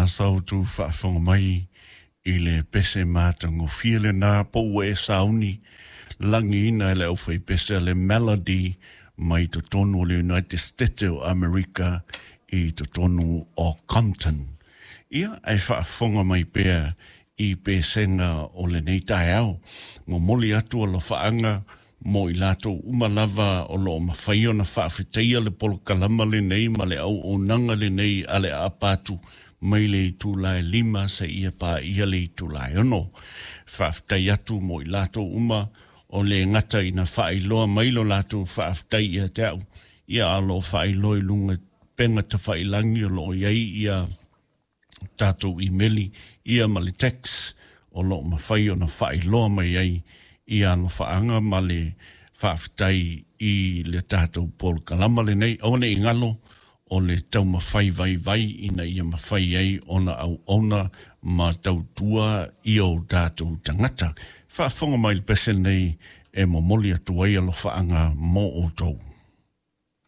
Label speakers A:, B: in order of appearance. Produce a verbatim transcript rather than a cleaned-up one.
A: Sa outou faafofoga mai i le pese matagofie lenā po ua e sauni lagiina e le aufaipese a le Melody mai totonu o le United States o Amerika i totonu o Compton. Ia ae faafofoga mai pea i pesega o lenei taeao. Momoli atu alofaaga mo i latou uma lava o loo mafai ona faafetaia le polokalama lenei ma le auaunaga lenei a le aapa atu mai le itula e lima seia paia le itula e ono. Faafetai atu mo i latou uma o le gata ina faailoa mai lo latou faafetai ia te au, ia a o loo faailoa i luga pega tafailagi o loo i ai ia tatou imeli ia ma le text o loo mafai ona faailoa mai ai ia alofaaga ma le faafetai i le tatou polokalama lenei. Aua ne i galo o le taumafai vaivai ina ia mafai ai ona auauna ma tautua i o tatou tagata. Faafofoga mai le pese lenei e momoli atu ai alofaaga mo outou.